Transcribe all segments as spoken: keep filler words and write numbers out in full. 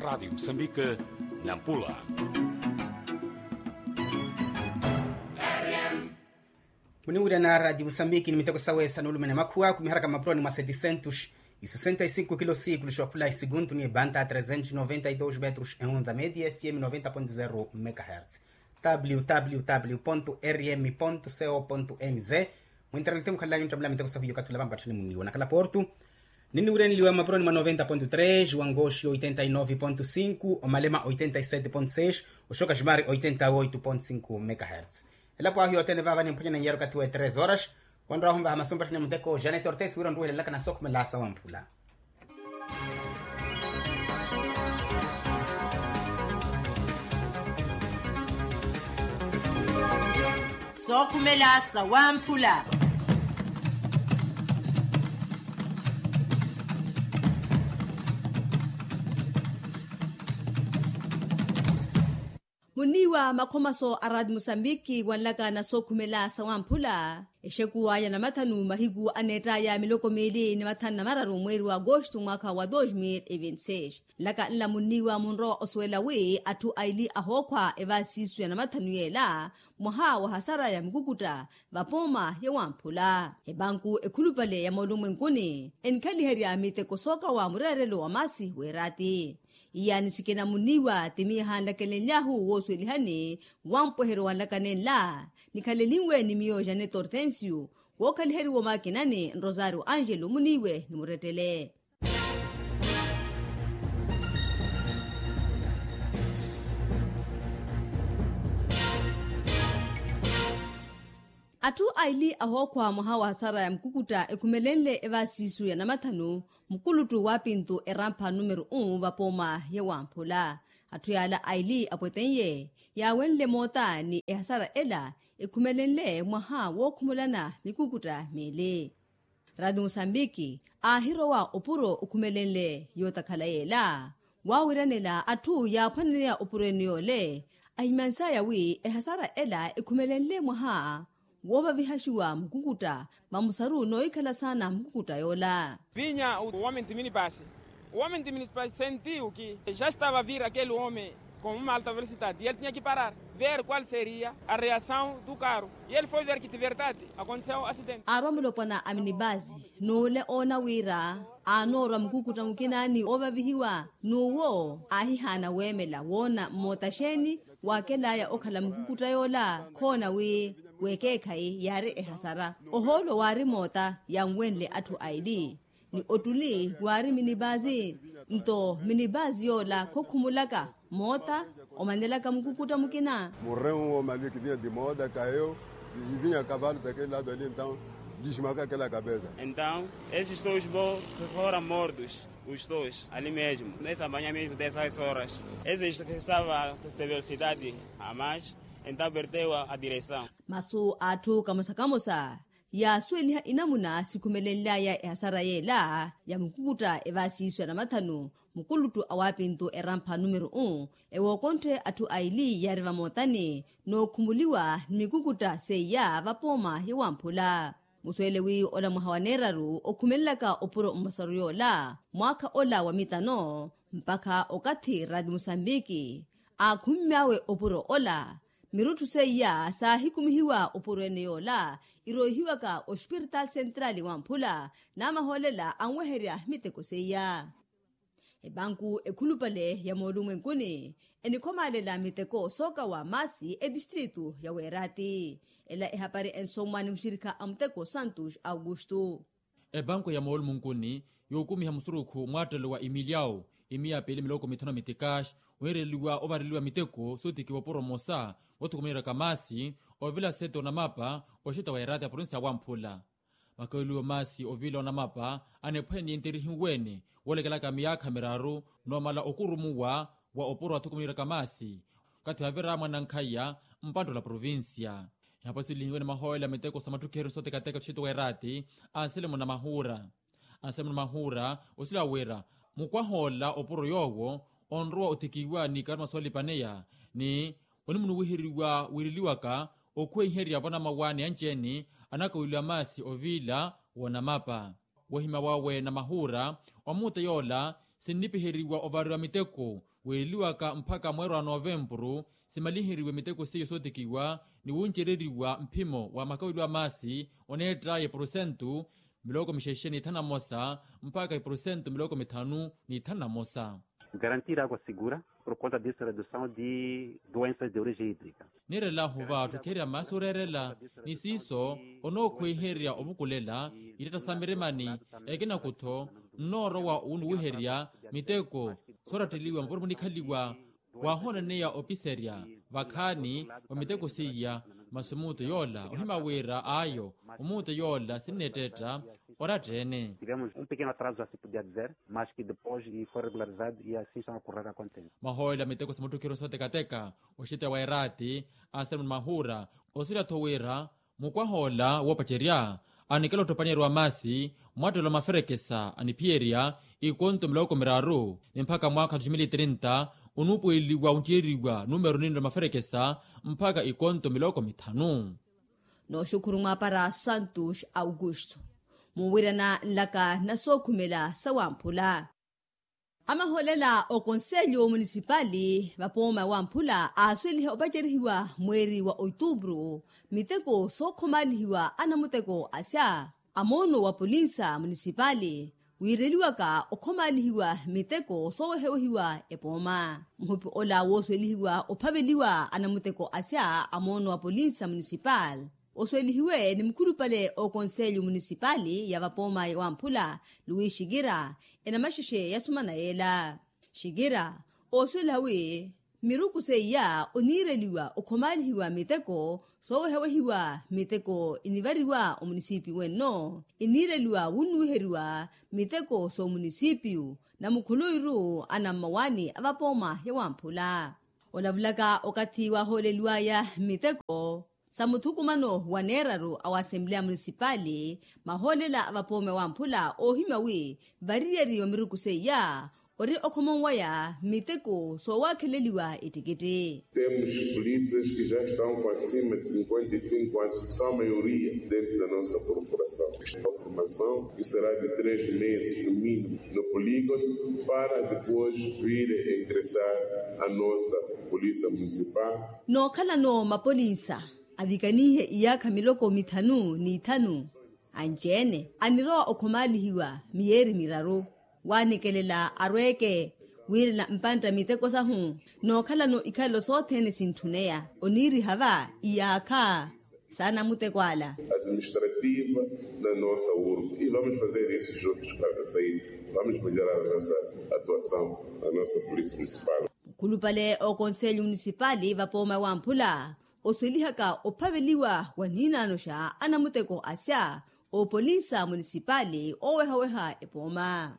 Radiyo musambike, nampula. Muniwirana radiyo musambike ni miteko sawe sa nulumene makhuwa kumiharaka mapuroni mwa setisentus, isesenta isinko kilo sikulu xookhula isiguntu ni ebanta a tresentos noventa idos metros e onda media fm noventa ponto zero megahertz. Www rm co mz. Mwinternet mukhalelani otthamela miteko sahu yokathula vampatthani muniwo nakhala portu. Ninniwirenliwa mapuroni mwa noventa ponto tres, wangoxi oitenta inove ponto cinco, omalema oitenta isete ponto seis, oxoka ximari oitenta oito ponto cinco megahertz. Elapo ahu yothene vava nimphwanyana nyiyari okathi wa tres horas. Wanrwahu mvaha masumpatthani muteko janet ortes wira onruwehelelaka na sookhumela sawamphula. Sookhumela sawamphula. Muniiwa makhomaso a rati musambiki wanlaka na sookhumela sawamphula. Exekuwa ya namathanu mahiku aneettaya miloko miili ni mathanu na mararu mweeri wa agosto mwaakha wa dos mil e vinti seis. Nlaka nla munniiwa munrowa osuwela wi atthu aili ahookhwa evaasiisu ya namathanu yeela mwaha wa hasara ya mikukutta vapooma ya wamphula. Epanku ekhulupale ya moolumwenkuni enikhaliherya miteko sookawa mureerelo wa maasi weeraati. Iyaani sikina muniiwa timiiha nlakelenlyahu woosuwelihani wampweheryo wa nlaka nenla. Nikhalenlinwe ni miyo janet hortensio wookhaliheriwa omaakinani nrosario angelo muniiwe ni murettele. Atthu aili ahookhwa mwaha wa hasara ya mukukutta ekhumelenle evaasiisu ya namathanu mukuluttu wa pintu erampha numero un vapooma ya wamphula. Atthu yaala aili apwetenye yaawenle moota ni ehasara ela ekhumelenle mwaha wookhumulana mikukutta miili. Rati musambiki aahirowa opuro okhumelenle yootakhala yeela. Waawiranela atthu yaaphwaneneya opuro ene yoole ahimyansaya wi ehasara ela ekhumelenle mwaha woovavihaxiwa mukukutta vamusaru noohikhala saana mukukutta yoola. Vinya o homem de minibus, o homem de minibus sentiu que já estava a vir aquele homem com uma alta velocidade e ele tinha que parar, ver qual seria a reação do carro. E ele foi ver que de verdade aconteceu um acidente. Aarwa mulopwana a minibus n'ule oona wira aanoorwa mukukutta mukina ni oovavihiwa n'uwo aahihaana weemela woona mmoota xeeni waakelaya okhala mukukutta yoola. Khoona wi wekeekhayi yaari ehasara ohoolo waari moota yanwenle atthu aili ni ottuli waari minibazi. Nto minibazi yoola khokhumulaka moota omanelaka mukukutta mukina. Morreu um homem ali que vinha de moda, caiu e vinha a cavalo daquele lado ali, então desmarcou aquela cabeça. Então esses dois foram mortos. Os dois ali mesmo nessa manhã mesmo dessas horas, esse estava de velocidade a mais, então perdeu a direção. Masu a atthu kamosa-kamosa yaasuweliha inamuna sikhumelenlyaya ehasara yeela ya mukukutta evaasiisu ya namathanu mukuluttu a waapintu erampha numero un. Ewookonthe atthu aili yaari vamootani nookhumuliwa ni mikukutta seiya vapooma ya wamphula. Musuwele wi ola mwaha wa neeraru okhumelelaka opuro mmosaru yoola mwaakha ola wa mitano mpakha okathi rati musambiki aakhummy'awe opuro ola. Mirutthu seiya saahikumihiwa opuro ene yoola iroihiwaka ospiritaali sentrali wamphula n'amahoolela anweherya miteko seiya. Epanku ekhulupale ya moolumwenkuni enikhomaalela miteko sookawa maasi etistritu ya weeraati. Ela ehapari ensomwa ni muxirikha a muteko santos augusto. Epanku ya moolumwenkuni yookumiha musurukhu mwaattelo wa imiliau imiya piili miloko mithanu mitikaxi wiireliwa ovareliwa miteko sootikiwa opuro mmosa woothukumaniraka maasi ovila sete onamapa oxita wa eraati ya provinsi ya wamphula. Makaweliwo maasi ovila onamapa anephwene yenterihiwene woolekelaka miyaakha miraru noomala okurumuwa wa opuro athukumaniraka maasi okathi wavira mwanankhaya mpanttolo a provincia. Ehapo siwelihiwene mahoolela miteko sa matthukheryo sootekateka oxita wa eraati anselmo namahuura. Anselmo namahuura osila wira mukwah'ola opuro yoowo onrowa otikiwa ni karuma soolipaneya ni onimunuwiheriwa wiireliwaka okhweiherya vonamawa ni anci-ene anakaweliwa maasi oviila woonamapa. Wohimya wawe namahuura omuuta yoola sinnipiheriwa ovariwa miteko weereliwaka mpakha mweeri wa novempuru. Simaliheriwe miteko seiyo sootikiwa ni wuncereriwa mphimo wa makaweliwa maasi oneett'aya epurusentu miloko mixexe n'ithanu na mosa mpakha epurusentu miloko mithanu n'ithanu na mosa. Garantir água segura por conta dessa redução de doenças de origem hídrica. Niirela huva ttukheriya maasi ooreerela ni siiso onookhwiherya ovukulela ittetta sa mirimani. Ekinakutho nnoorowa wuniwiherya miteko sooratteliwa mapuro munikhaliwa wahooneneya opiserya vakhaani wa miteko seiya. Masi omuuto yoola ohima wira ayo omuuto yoola sinneettetta oratta-ene. Tivemos um pequeno atraso, já se podia dizer, mas que depois foi regularizado e assim estão a correr a contente. Mahoolela miteko sa muttukhiro sootekateka oxiteya wa eraati a seremoni mahuura osuwela-tho wira mukwahoola woopacerya anikela ottopanyeru wa maasi mwattelo maferekesa aniphiyerya ikonto miloko miraru ni mpakha mwaakha wa tiximili trinta onuupuweliwa onttiyeriwa numeru ninre maferekesa mpakha ikonto miloko mithanu. Nooxukhuru mwaapara santos augusto munwirana nlaka na sookhumela sa wamphula. Amahoolela okonselyo munisipali vapooma wamphula aasweliha opacerihiwa mweeri wa otuupuru miteko sookhomaalihiwa anamuteko asya a moono wa polinsa munisipali wiireliwaka okhomaalihiwa miteko soowehewehiwa epooma muhupi ola wooswelihiwa ophaveliwa anamuteko asya a moono wa polinsa munisipali oswelihiwe ni mukhulupale okonselyo munisipali ya vapooma ya wamphula luwi xikira enamaxexe yasumana yeela. Xikira ooswela wi miruku seiya oniireliwa okhomaalihiwa miteko soowehawehiwa miteko inivariwa omunisipiyu wenno iniireliwa wunnuwiheriwa miteko soomunisipiyu na mukhuluwiru anammawaani a vapooma ya wamphula olavulaka okathi wahooleliwaya miteko sa muthukumano wa neeraru a wa asempleya munisipali mahoolela a vapoome wamphula oohimya wi variyari wa miruku seiya ori okhomonwaya miteko soowakheleliwa ettikitthi. Temos polícias que já estão com acima de cinquenta e cinco anos, são a maioria dentro da nossa corporação. Formação que será de três meses no mínimo no polígono para depois vir ingressar a nossa polícia municipal. Nookhalano mapolinsa avikanihe iyaakha miloko mithanu n'ithanu anci-ene anirowa okhomaalihiwa miyeeri miraru waanikelela arweeke wiirela mpantta miteko sahu nookhalano ikhalelo sothene sintthuneya oniiriha va iyaakha saana muteko ala. Administrativa na nossa urbe e vamos fazer isso juntos para sair vamos melhorar a nossa atuação na nossa polícia municipal. Mukhulupale ookonselyo munisipali vapooma wamphula oswelihaka ophaveliwa wa niinaanoxa anamuteko asya oopolinsa munisipali oowehaweha epooma.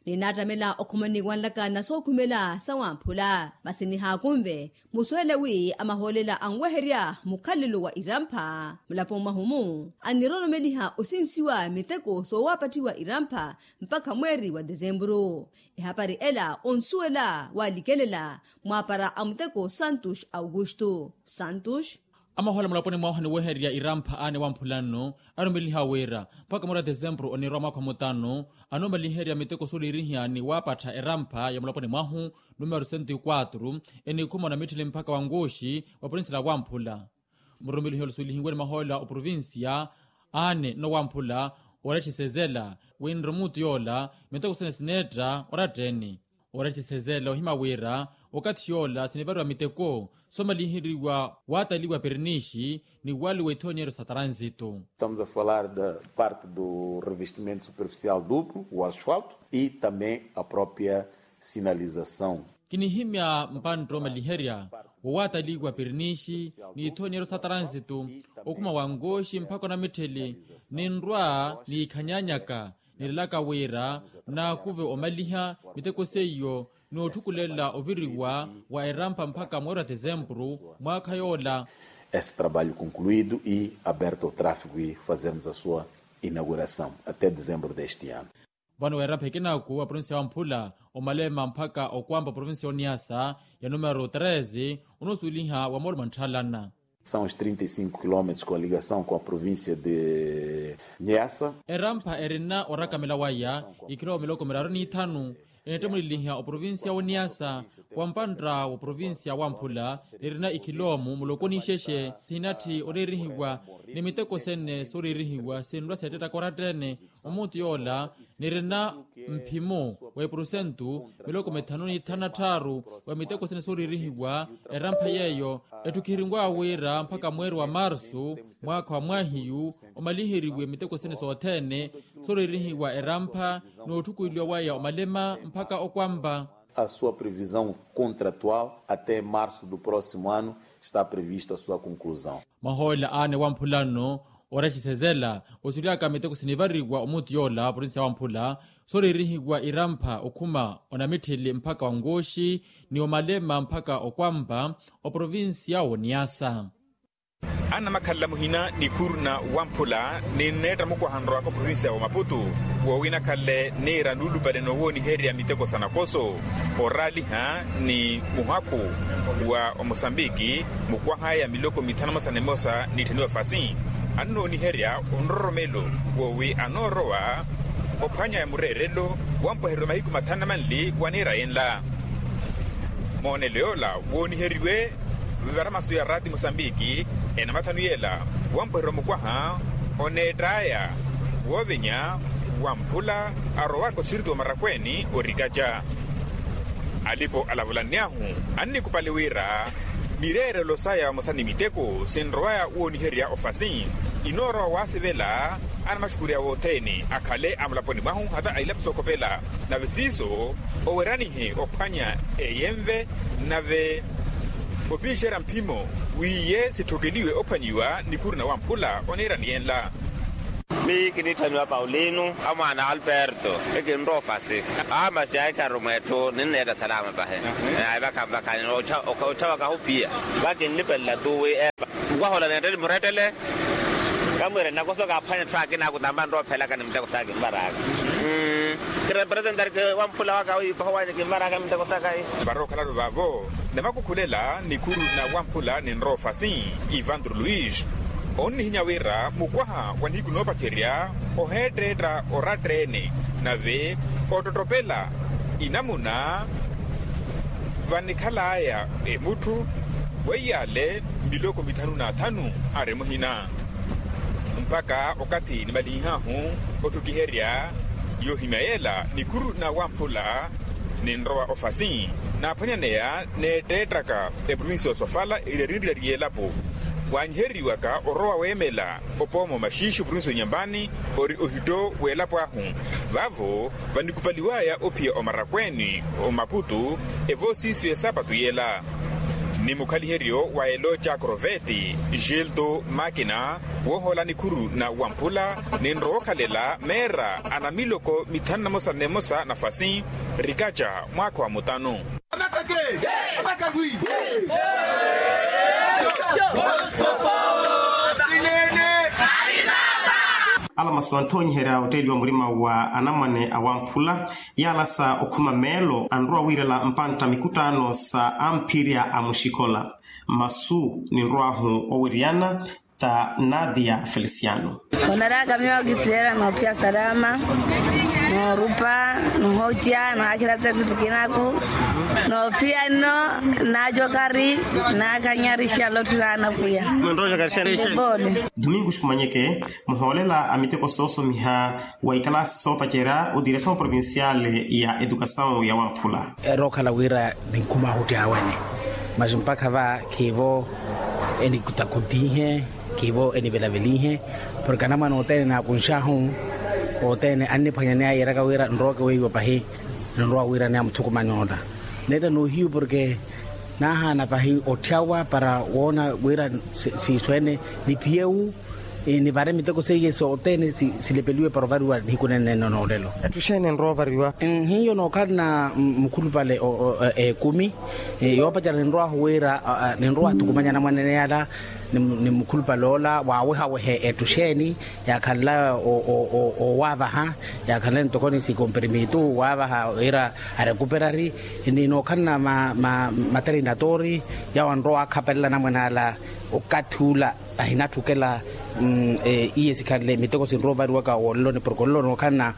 Ninaattamela okhomani wanlaka na sookhumela sa wamphula masi nihaakunve musuwele wi amahoolela anweherya mukhalelo wa irampha mulapo mwahu-mu aniroromeliha osinsiwa miteko soowaapattiwa irampha mpakha mweeri wa desempuru. Ehapari ela onsuwela waalikelela mwaapara a muteko santos augusto santos. Amahoolela mulaponi mwahu aniwehererya irampha aane wamphula nno arumeliha wira mpakha mweeri wa desempuru oniirwa mwaakha wa mutano anoomaliherya miteko sooliirihiya ni waapattha erampha ya mulaponi mwahu numero sento e quatro enikhuma na mitthili mpakha wa nkuxi wa provincia la wamphula. Murumelihi ola suwelihiwe ni mahoolela oprovincia aane nowamphula oretthisezela winre omuutu yoola miteko sene sineetta oratta-ene. Oretthisezela ohima wira okathi yoola sinivariwa miteko soomaliheriwa waataliwa pirinixi ni waaliwa ithonyeero sa tranzito. Estamos a falar da parte do revestimento superficial duplo o asfalto e também a própria sinalização. Kinihimya mpantta omaliherya wowaataliwa pirinixi n'ithonyeero sa tranzito okuma wa nkoxi mpakha onamittheli ninrwa niikhanyanyaka nilelaka wira naakuve omaliha miteko seiyo n'otthukulela oviriwa wa erampha mpakha mweeri wa desempuru mwaakha yoola. Esse trabalho concluído e aberto ao tráfego e fazermos a sua inauguração até dezembro deste ano. Vano weerampha ekinaku wa provincia ya wamphula omalema mpakha okwampa provincia oniasa ya numero treze onoosuweliha wa mooloma ntthalana. São os trinta e cinco quilómetros com a ligação com a província de Niassa. Erampha erina orakamela waya ikhirowa miloko miraru n'ithanu Enettemuleliha oprovincia woniyasa, wampantta woprovincia wamphula, nirina ikhiloomu muloko nixexe sihinatthi oreerihiwa, ni miteko sene sooreerihiwa sinrwa seettettaka oratta-ene. Omuti yoola nirina mphimo wa epurusentu miloko mithanu ni thanu na tthaaru wa miteko sene sooreerihiwa. Erampha yeeyo etthukiheriw'awe wira mpakha mweeri wa marsu, mwaakha wa mwahiyu omaliheriwe miteko sene sothene, sooreerihiwa erampha n'otthukuliwa waya omalema mpakha okwampa. A sua previsão contratual até março do próximo ano está previsto a sua conclusão. Mahoolela aane wamphula nno oraxisezela osulyaka miteko sinivariwa omuti yoola provincia wamphula, sooreerihiwa irampha okhuma onamitthili mpakha wa nkooxi, ni omalema mpakha okwampa oprovincia woniyasa. Annamakhalela muhina ni khuruna wamphula ninneetta mukwaha nrowaka oprovincia wa maputu, woowinakhalle niira nuulupale noowooniherya miteko sa nakoso, oraaliha ni muhakhu wa omosambiki, mukwaha ya miloko mithanu emosa ni emosa nitthaniwa fasi. Annooniherya onroromelo woowi anoorowa ophwanya ya mureerelo wampwehereryo mahiku mathanu na manli wa niira yenla. Moonelo yoola wooniheriwe vivara masu ya raati mosambiki enamathanu yeela, wampwehereryo mukwaha oneett'aya woovenya wamphula arowaka oxiriti wa marakweeni orikaca. Alipo alavulanny'ahu annikupali wira mireerelo saya vamosa ni miteko sinrowaya wooniherya ofasi, inoorowa waasivela anamaxukurya wothene akhale amulaponi mwahu hata a ilapo sookhopela. Nave siiso oweranihe ophwanya eyenve, nave opixerya mphimo wiiye sitthokeliwe ophwanyiwa ni khuruna wamphula oneerani yenla. Miyo kinitthaniwa paulino a mwaana alberto. Ekinrowa ofasi a masi aikharu mweetthu ninneetta salama pahi. Vakhanvakha ottha wakahu piya vakinlipelela tuwi epa. Nkwahola neettele murettele kamwire nnakoso kaaphwanya etthu akina akutampa nroophelaka ni miteko saka kinvaraka. Kirepresentari wamphula waka wiipaho wanya kinvaraka miteko saka. Varookhalalo vaavo namakukhulela ni khuruna wamphula ninrowa ofasi ivandro luis onnihinya wira mukwaha wa nihiku noopacerya oheetteetta oratta-ene nave ottottopela inamuna vanikhalaya emutthu weiyale miloko mithanu n'athanu ari muhina. Mpakha okathi nimalinhahu otthukiherya yoohimya yeela ni khuruna wamphula ninrowa ofasi naaphwanyaneya neetteettaka eprovincia yosofala eri arinriyari y'elapo waanyiheriwaka orowa weemela opooma omaxiixi oprovincia onyambani ori ohitto w'elapo ahu. Vaavo vanikupaliwaya ophiya omarakweeni omaputu evoosiisiyo esapatu yeela ni mukhaliheryo wa elooca kroveti gilto makina woohola nikhuru na wamphula ninrowa okhalela meera a namiloko mithanu namosa nemosa nafasi rikaca mwaakha wa mutanu. Ala masu anthonyiherya otteeliwa murima wa anamwane awamphula yaalasa okhuma meelo anrowa wiirela mpantta mikuttaano sa amphirya a muxikola. Masu ninrow'ahu owiriyana ta nadia feliciano. Onaraka miyo kisiela noophiya salama, noorupa, nohoca, nohakhilatsa etthu tikinaku, noofiya nno, naacokari, naakanyarixa lotthu naanapwiya. Pole. Domingo xikumanyeke muhoolela a miteko soosomiha wa ikalaasi soopacerya odiresawu provinciale ya edukasawu ya wamphula. Erookhala wira ninkhuma ahuttyawene, masi mpakha va khiivo enikutakutinhe, khiivo enivelavelinhe, porke anamwane othene naakunxahu othene anniphwanyaneya yeeraka wira nrooke weiwa pahi. Ninrowa wira ni amuthukumani ola neetta noohiyu porke naahaana pahi otthyawa para woona wira siiso ene niphiyewu nivare miteko seiye sothene silepeliwe para ovariwa nihiku nene noolelo. Etthu xeeni enrowa ovariwa? Nhiyo nookhalana mukhulupale ekumi. Yoopacerya ninrowahu wira ninrowa athukumanya anamwanene yala ni mukhulupale ola waawehawehe etthu xeeni yaakhanlaya owaavaha, yaakhanlaya ntoko ni sikomperimitu waavaha wira arekuperari ni nookhalana materinatori yawo anrowa akhapelela anamwane ala. Okathi ula ahinatthukela Iye sikhanle miteko sinrowa ovariwaka woleloni porke olelo nookhalana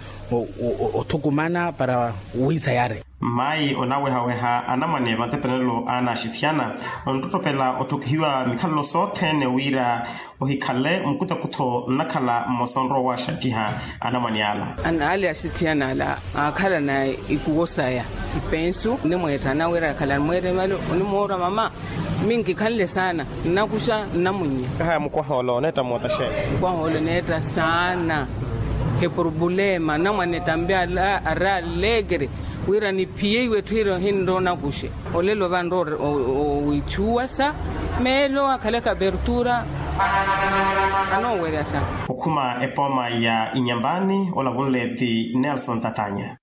othukumana para wiisayare. Mayi onawehaweha anamwane vantepenelo anaxithiyana onttottopela otthukihiwa mikhalelo sothene wira ohikhale mukutakutho nnakhala mmosa onrowa owaxakiha anamwane ala. Anaale axithiyana ala aakhalana ikuwo saya ipensu onimweettana wira akhalani mweeremelo onimoorwa mama. Minkikhanle saana nnakuxa nnamunnya. Kahaya mukwaha ole oneetta moota xeeni? Mukwaha ole oneetta saana. Eporobulema namwane tambi ari allegre wira niphiye iwe etthu ira ohinrowa onakuxe. Olelo vanrowa owiithuwasa meelo akhalaka apertura. Anoowerya saana. Okhuma epooma ya inyambani olavunle ti nelson tatanya.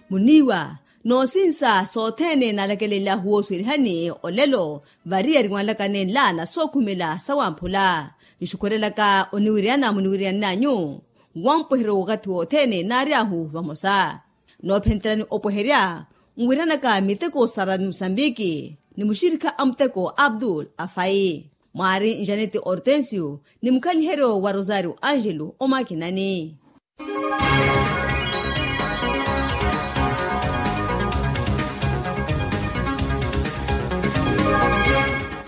Muniiwa noosinsa sothene naalakelelyahu woosuwelihani olelo vari yariwanlaka nenla na sookhumela sawamphula. Nxukhurelaka oniwiriyana muniwiriyananyu wamupweheryo wakathi wothene naaryahu vamosa. Noophentelani opweherya nwiranaka miteko sara musambiki ni muxirikha a muteko abdul afai. Mwaari njaneti hortensio ni mukhaliheryo wa rosario angelo omakinani.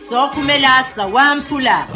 Sookhumela sawamphula.